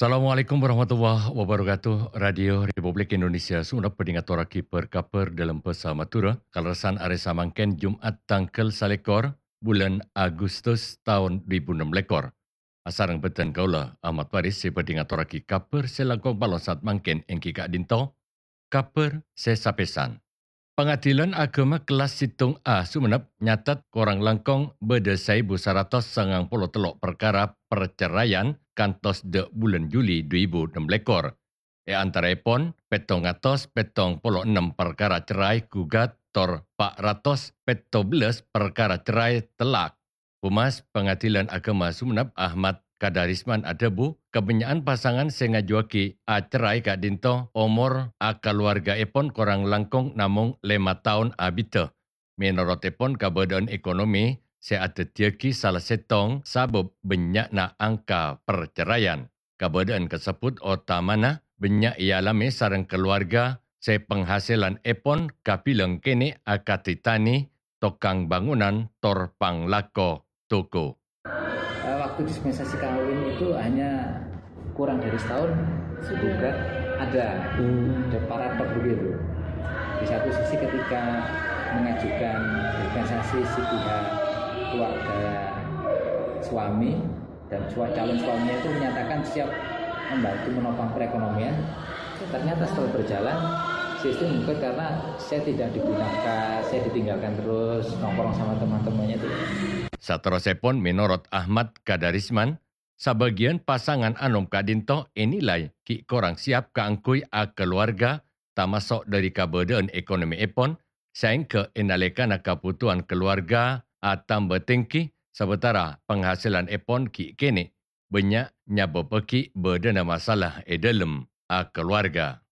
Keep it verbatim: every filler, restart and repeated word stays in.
Assalamualaikum warahmatullahi wabarakatuh. Radio Republik Indonesia Songennep bhâdhi ngatorraghi bâr-kabhâr dâlem bhâsa Madhurâ, kalerressan arè samangkèn Jum'at tangghâl salèkor, bulân Agustus taon du èbu ennem lèkor. Asareng bhâdhân kaulâ, Ahmad Faris, sè bhâdhi ngatorraghi kabhâr sè langkong palong saat mangkèn èngghi ka'dinto, kabhâr sè sapèsan. Pangadilan Agama Kelas Sèttong A Songennep nyatet korang langkong bâdâ saèbu saratos sangang polo tello' parkara parceraian kantos dâ' bulân Juli du èbu ennem lèkor. È antaraèpon, pèttong atos pèttong polo ennem parkara cerai gugat tor pa' ratos pètto bellâs parkara cerai tellak. Humas Pangadilan Agama Songennep Ahmad Kadarisman adhâbu, kabânnya'an pasangan sè ngajuwâghi acerrai ka'dinto omor akalowargaèpon korang langkong namong lèma taon abiddhâ. Mènorotèpon kabâdâ'ân ekonomi sè adhâddhiyâghi sala sèttong sabâb bânnya'na angka parceraian. Kabâdâ'ân kasebbhut otamana bânnya' èalamè sareng kalowarga sè panghasilanèpon kabilang kènè' akadhi tanè, tokang bângonan, tor panglako toko. Eh, waktu dispensasi kawin itu hanya kurang dari setahun juga ada. Hmm. Ada paradok begitu. Di satu sisi ketika mengajukan dispensasi si pihak keluarga suami dan sua-, calon suaminya itu menyatakan siap membantu menopang perekonomian, ternyata setelah berjalan, sistem mungkin karena saya tidak digunakan, saya ditinggalkan terus, nongkrong sama teman-temannya itu. Saterrossèpon, mènorot Ahmad Kadarisman, sabâgiyân pasangan anom ka'dinto ènilai ghi' korang siap kaangghuy akalowarga, tamaso' dâri kabâdâ'ân ekonomièpon, saèngghâ è nalèkana kabhutowan kalowarga atamba tèngghi, sabâtara panghasilanèpon ghi' kènè', bânnya' nyabâbbhâghi bâdâna masalah è dâlem akalowarga.